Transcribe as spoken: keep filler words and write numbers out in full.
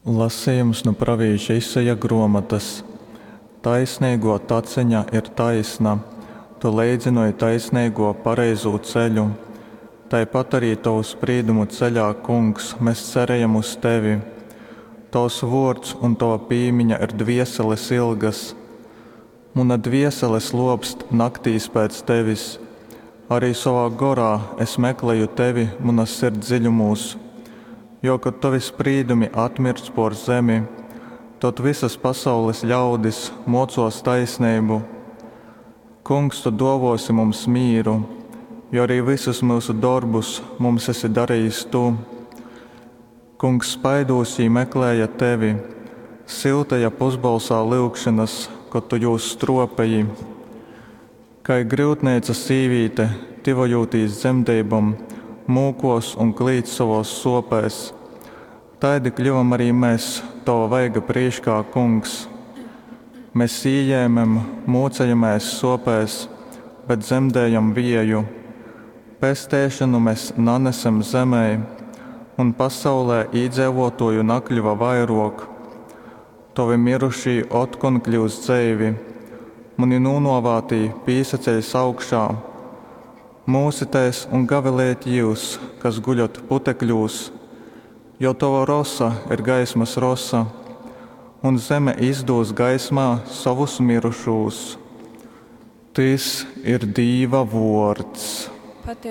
Lasejums nu pravīša Isaja gruomotys. Taisneiguo taceņa ir taisna, tu leidzynoj taisneiguo pareizū ceļu. Taipat arī tovu sprīdumu ceļā, Kungs, mes cerejam uz tevi. Tovs vuords un tova pīmiņa ir dvieseles ilgas. Muna dviesele sluopst naktīs pēc tevis, arī sovā gorā es mekleju tevi munas sirds dziļumūs. Jo kad tovi sprīdumi atmirdz pōr zemi, tod vysas pasaules ļaudis mōcōs taisneibu. Kungs, tu dōvōsi mums mīru, jo arī vysus myusu dorbus mums esi darejis tu. Kungs, spaidūs jī meklēja tevi, syuteja pusbolsā lyugšonas, kod tu jūs strōpeji. Kai gryutneica sīvīte, tyvojūtīs dzemdeibom, mūkōs un klīdz sovōs sōpēs, taidi kļuvam arī mes tova vaiga prīškā, Kungs. Mes ījēmem, mūcejamēs sōpēs, bet dzemdējam vieju. Pesteišonu mes nanesem zemei, un pasaulē īdzeivōtōju nakļuva vairōk. Tovi myrušī otkon kļyus dzeivi, muni nūnōvātī pīsaceļs augšā. Mūsitēs un gavilejit jyus, kas guļat putekļūs, jo tova rosa ir gaismas rosa, un zeme izdūs gaismā sovus myrušūs. Tys ir Dīva vōrds. Pateiceibas.